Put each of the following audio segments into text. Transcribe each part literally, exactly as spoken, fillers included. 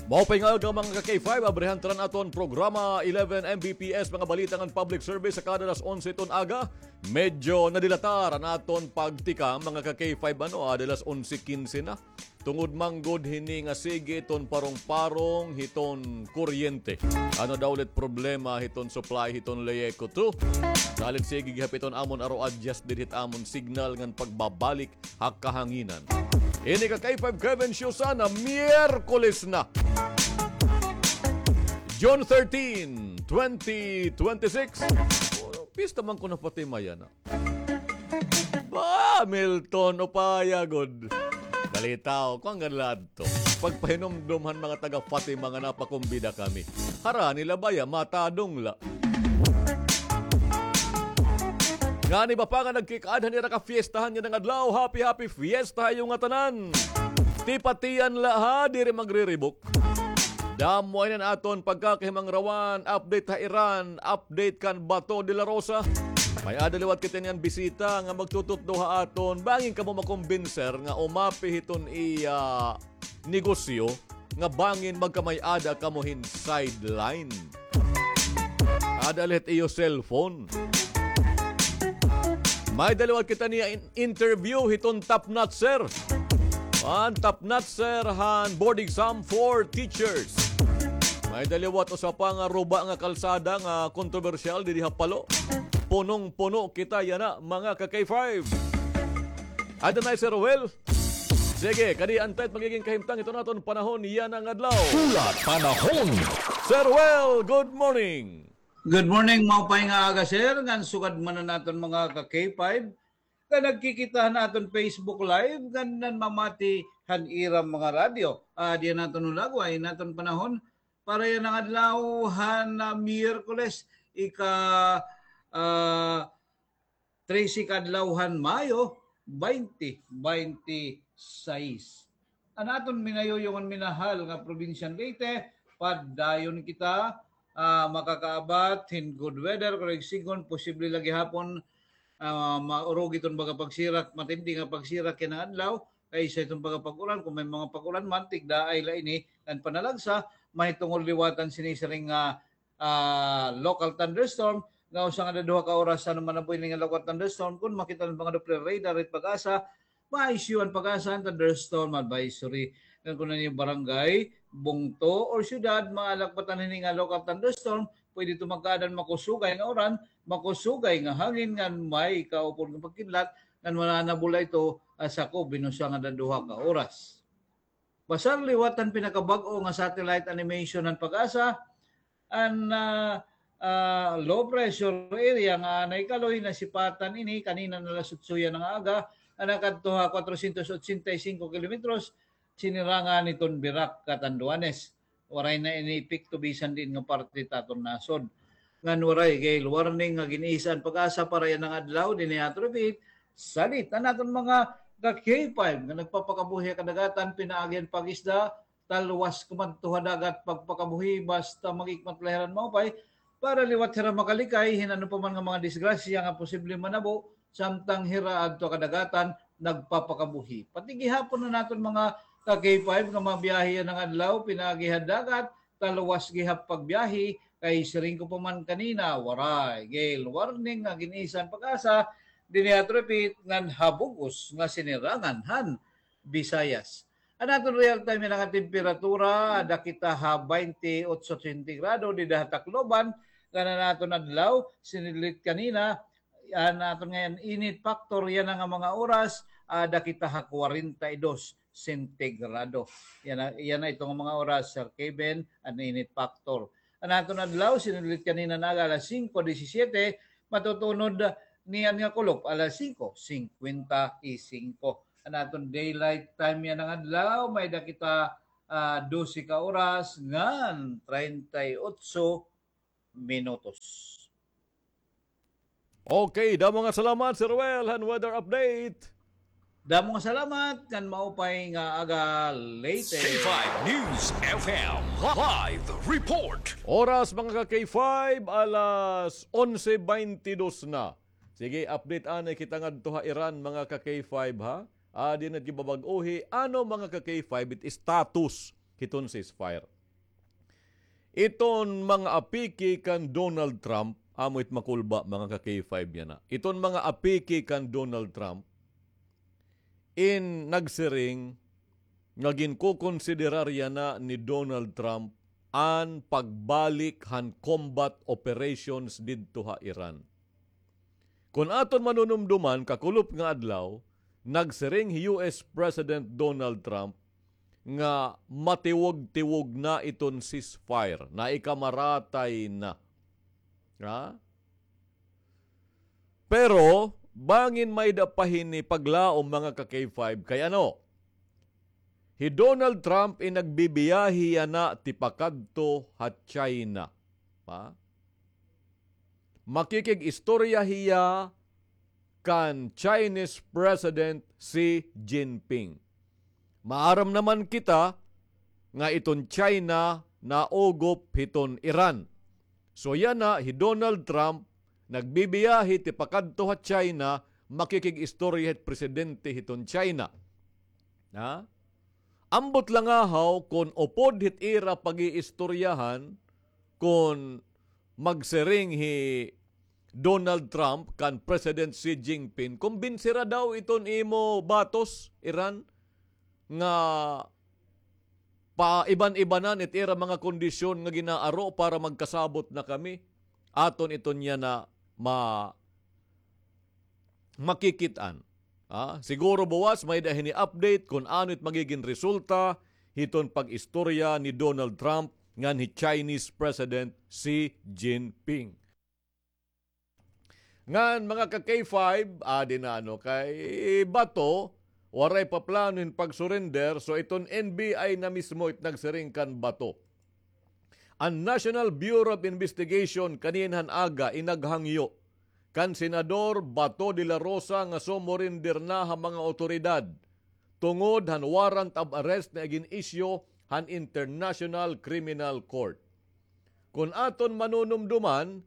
Maupay nga aga, mga ka-K five, abrihan ta an aton programa eleven M B P S, mga balita ngan public service sa kada alas onse hiton aga. Medyo nadilatar an aton pagtikang, mga ka-K five, ano, ada alas onse kinse na. Tungod man gud hini nga sige hiton parong-parong hiton kuryente. Ano daw la it problema hiton supply hiton Leco two? Salit sige gihap hiton amon aro adjust diri hit amon signal ngan pagbabalik ha kahanginan. Ini ka K five Kevin Show sana, Miyerkules na. June thirteen, twenty twenty-six. Pista man kuno pati mayana. Ba, Milton, upaya gud. Kalitaw, kuan gad la adto. Pagpahinumdom han mga taga Fatima nga napakumbida kami. Harani la baya, matadong la. Ngani ba pa nga nagkikaad han ira ka fiestahan yana nga adlaw, happy, happy fiesta ha iyo ngatanan. Tipatian la ha, diri magriribok. Damo ini an aton pagkakahimangrawan, update ha Iran, update kan Bato de la Rosa. May-ada liwat kita niyan bisita nga magtututdo ha aton. Bangin kamo makumbinser nga umapi hiton iya negosyo nga bangin magkamay-ada kamo hin sideline. Ada la hit iyo cellphone. May-ada liwat kita niya in-, interview hiton top notcher. An top notcher han board exam for teachers. May-ada liwat usa pa nga ruba nga kalsada nga kontrobersyal didi ha Palo. Punong-puno kita yana, mga ka-K five. Ada na hi Sir Ruel. Sige, kadi an tayo magiging kahimtang hiton aton panahon yana nga adlaw. Hulat panahon. Sir Ruel, good morning. Good morning, maupay nga aga, sir, ngan sugad man an aton mga ka-K five nga nagkikita han aton Facebook Live, ngan nanmamati han ira mga radyo. Ah, diyan naton hulagway an aton panahon para yana nga adlaw han, ah, Miyerkules, ika, ah, trese ka adlaw han Mayo, twenty twenty-six. An aton minayuyong ngan minahal nga probinsyang Leyte, padayon kita, ah, makakaabat hin good weather, pero igsigon, posible la gihapon, ah, maurugi iton baga pagsirak, matindi nga pagsirak yana nga adlaw, kaysa iton baga pag-ulan, kon may mga pag-ulan man, tigdaay la ini, ngan panalagsa, mahitungod liwatan sini siring nga ah, local thunderstorm, nga usa nga duha ka oras, ano man an buhi nga local thunderstorm, kon makita an mga Doppler radar it PAGASA, ma-issue an PAGASA an thunderstorm advisory. Ngan kon an iyo barangay, bungto, or syudad, maalakbatan hini nga local thunderstorm, pwede ito magkaada hin makusugay nga uran, makusugay nga hangin, ngan may kaupod nga pagkidlat, ngan mananabol la ito, ah, sakob hin usa nga duha ka oras. Basar liwat han pinakabag-o nga satellite animation han PAGASA, an, ah, ah, low pressure area nga anay kaloy nasipatan ini kanina nga alas otso yana nga aga, nga nakadto ha cuatrocientos ochenta y cinco kilometros, sinirangan hiton Virac, Catanduanes. Waray na ini epekto bisan diin nga parte ta aton nasod. Ngan waray gale warning nga gin-isa an PAGASA para yana nga adlaw dinhi ha Atropit. Salit an aton mga ka-K five nga nagpapakabuhi ha kadagatan, pinaagi han pag-isda, talwas kumadto ha dagat pagpakabuhi, basta mag-ikmat la hira hin maupay para liwat hira makalikay hin ano pa man nga mga disgrasya nga posible manabo samtang hira adto ha kadagatan nagpapakabuhi. Pati gihapon an aton mga ka-K five nga mabiyahe yana nga adlaw pinaagi ha dagat, talwas gihap pagbiyahe, kay siring ko pa man kanina, waray gale warning nga gin-isa han PAGASA dinhi ha Atropit ngan ha bug-os nga sinirangan han Visayas. An aton real time yana nga temperatura, ada kita ha twenty-eight sentigrado dida ha Tacloban, ngan an aton adlaw, sinidlit kanina, an aton ngay-an init factor yana nga mga oras, ada kita ha kwarenta y dos sentigrado. Yana, yana ito nga mga oras, Sir Kevin, an init factor. An aton adlaw, sinidlit kanina nga aga alas singko disisiete, matutunod niyan nga kulop alas singko singkwenta y singko. An aton daylight time yana nga adlaw, may-ada kita, ah, dose ka oras ngan treinta y ocho minutos. Okay, damo nga salamat, Sir Ruel, han weather update. Damo nga salamat, ngan maupay nga aga, Leyte. K five News F M live report. Oras, mga ka-K five, alas onse beintidos na. Sige, update anay kita ngadto ha Iran, mga ka-K five, ha? Adi na gibabag-ohi, ano, mga ka-K five, it status hiton ceasefire. Iton mga apiki kan Donald Trump, amo it makulba, mga ka-K five yana. Iton mga apiki kan Donald Trump, in nagsiring nga ginkokonsiderar yana ni Donald Trump an pagbalik han combat operations didto ha Iran. Kon aton manunumduman, kakulop nga adlaw, nagsiring hi U S President Donald Trump nga matiwog-tiwog na iton ceasefire, naikamaratay na. Ha? Pero, bangin may-ada pa hini paglaom, mga ka-K five, kay ano? Hi Donald Trump in nagbibiyahe yana tipakadto ha China. Ha? Makikig-istorya hiya kan Chinese President Xi Jinping. Maaram naman kita nga iton China naugop hiton Iran. So yana, hi Donald Trump nagbibiyahe tipakadto ha China, makikig-istorya hit presidente hiton China. Ha? Ambot la ngahaw kon upod hit ira pag-iistoryahan, kon magsiring hi Donald Trump kan President Xi Jinping, kumbinsira daw iton imo batos, Iran, nga paiban-ibanan it ira mga kondisyon nga ginaaro para magkasabot na kami. Aton iton yana ma-, makikit-an. Ah, siguro buwas may-ada hini update kon ano it magigin resulta hiton pag-istorya ni Donald Trump ngan hi Chinese President Xi Jinping. Ngan, mga ka-K five, adi na, ano, kay Bato, waray pa plano hin pag-surrender, so iton N B I na mismo it nagsiring kan Bato. An National Bureau of Investigation kanina han aga in naghangyo kan Senador Bato de la Rosa nga sumurrender na ha mga awtoridad tungod han warrant of arrest nga gin-issue han International Criminal Court. Kon aton manunumduman,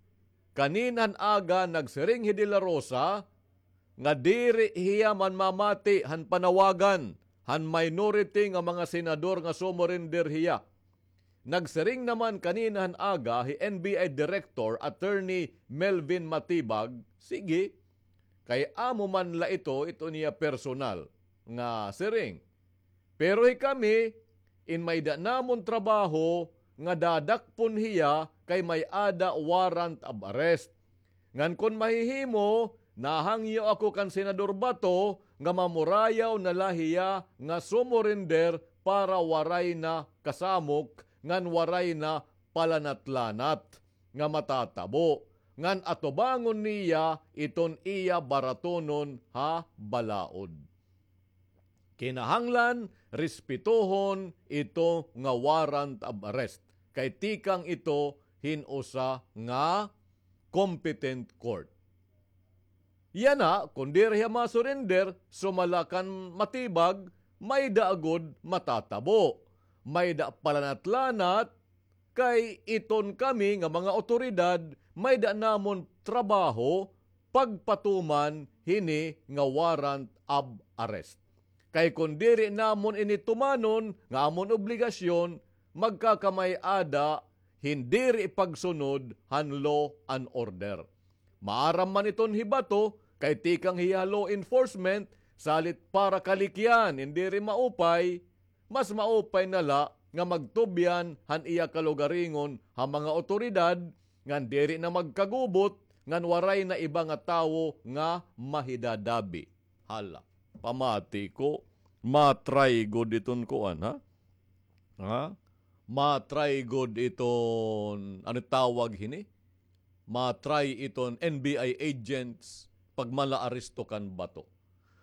kanina han aga nagsiring hi De La Rosa nga diri hiya manmamati han panawagan han minority nga mga senador nga sumurrender hiya. Nagsiring naman kanina han aga hi N B I Director Attorney Melvin Matibag, sige, kay amo man la ito, ito niya personal nga siring. Pero hikami, in may-ada namon trabaho nga dadakpon hiya kay may-ada warrant of arrest. Ngan kon mahihimo, nahangyo ako kan Senador Bato nga mamurayaw na la hiya nga sumurrender para waray na kasamok ngan waray na palanat-lanat nga matatabo, ngan atubangon niya iton iya baratonon ha balaod. Kinahanglan respetohon ito nga warrant of arrest, kay tikang ito hin usa nga competent court. Yana, kon diri hiya ma-surrender, sumala kan Matibag, may-ada gud matatabo. May-ada palanat-lanat, kay iton kami nga mga awtoridad, may-ada namon trabaho pagpatuman hini nga warrant of arrest. Kay kon diri namon ini tumanon nga amon obligasyon, magkakamay-ada hin diri pagsunod han law and order. Maaram man iton hi Bato, kay tikang hiya law enforcement, salit para kalikyan in diri maupay, mas maupay na la nga magtubyan han iya kalugaringon ha mga awtoridad, ngan diri na magkagubot, ngan waray na iba nga tawo nga mahidadabi. Hala, pamati ko, ma-try gud iton kuan, ha? Ha? Ma-try gud iton, ano tawag hini? Ma-try iton N B I agents pagmalaaresto kan Bato.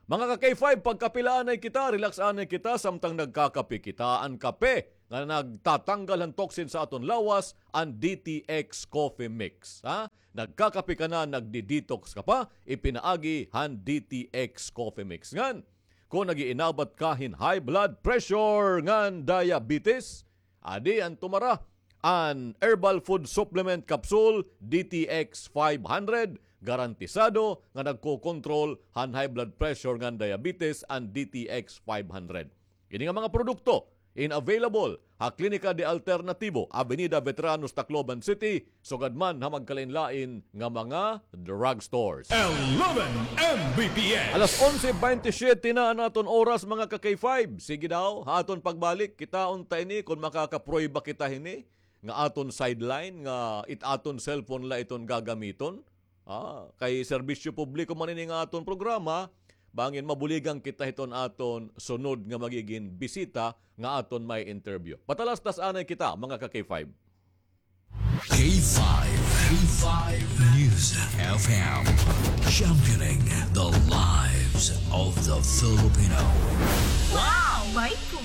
Mga ka-K five, pagkape la anay kita, relax anay kita, samtang nagkakape kita. An kape nga nagtatanggal han toxin sa aton lawas, an D T X Coffee Mix. Ha? Nagkakape ka na, nagdi-detox ka pa, ipinaagi han D T X Coffee Mix. Ngan, kon nag-iinabat ka hin high blood pressure ngan diabetes, adi an tumara, an Herbal Food Supplement Capsule, D T X five hundred, garantisado nga nagkokontrol han high blood pressure ngan diabetes an D T X five hundred. Kini nga mga produkto, in available ha Klinika de Alternativo, Avenida Veteranos, Tacloban City, sugad man ha magkalain-lain nga mga drugstores. Eleven M B P S. Alas onse bente siyete na an aton oras, mga ka-K five. Sige daw, ha aton pagbalik, kitaon ta ini kon makakaprueba kita hini nga aton sideline, nga it aton cellphone la iton gagamiton. Ah, kay serbisyo publiko man ini nga aton programa, bangin mabuligan kita hiton aton sunod nga magigin bisita nga aton may interview. Patalastas anay kita, mga ka-K five. K five, K five News F M, championing the lives of the Filipino. Wow! May puso.